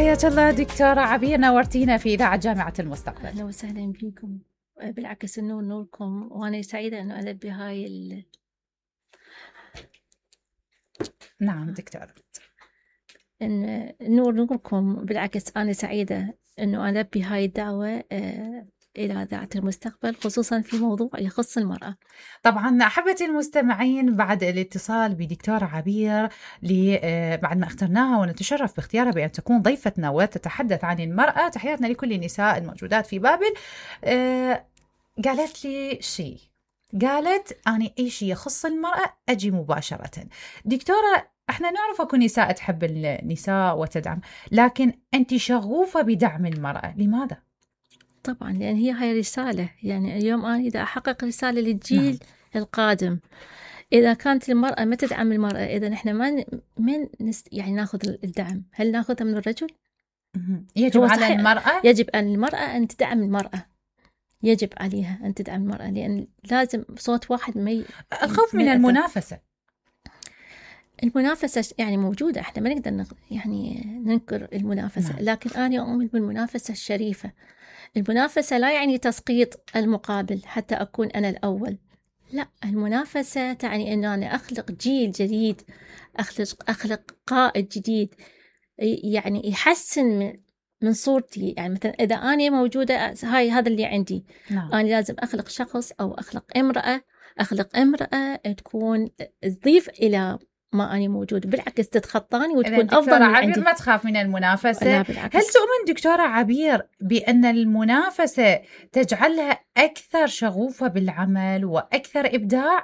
حياك الله دكتورة عبير، نورتينا في إذاعة جامعة المستقبل. أهلا وسهلا بكم. بالعكس النور نوركم، وأنا سعيدة أنه ألبي هاي نعم دكتورة. إن النور نوركم، بالعكس أنا سعيدة أنه ألبي هاي الدعوة إلى إذاعة المستقبل، خصوصا في موضوع يخص المرأة. طبعا أحبتي المستمعين، بعد الاتصال بدكتورة عبير بعد ما اخترناها ونتشرف باختيارها بأن تكون ضيفتنا وتتحدث عن المرأة، تحياتنا لكل النساء الموجودات في بابل. قالت لي شيء، قالت أنا أي شيء يخص المرأة أجي مباشرة. دكتورة، احنا نعرف اكو نساء تحب النساء وتدعم، لكن أنت شغوفة بدعم المرأة، لماذا؟ طبعا لأن هاي رسالة، يعني اليوم أنا إذا أحقق رسالة للجيل نعم. القادم، إذا كانت المرأة ما تدعم المرأة، إذا نحن ما يعني ناخذ الدعم، هل ناخذها من الرجل؟ يجب على المرأة، يجب أن المرأة أن تدعم المرأة، يجب عليها أن تدعم المرأة، لأن لازم صوت واحد الخوف من المنافسة. المنافسة يعني موجودة، احنا ما نقدر يعني ننكر المنافسة. نعم. لكن أنا أؤمن بالمنافسة الشريفة. المنافسة لا يعني تسقيط المقابل حتى أكون أنا الأول، لا، المنافسة تعني أن أنا أخلق جيل جديد، أخلق قائد جديد، يعني يحسن من صورتي. يعني مثلا إذا أنا موجودة، هذا اللي عندي. نعم. أنا لازم أخلق شخص أو أخلق امرأة تكون تضيف إلى ما أنا موجود، بالعكس تتخطاني وتكون أفضل من عندي. ما تخاف من المنافسة. لا، هل تؤمن دكتورة عبير بأن المنافسة تجعلها أكثر شغوفة بالعمل وأكثر إبداع؟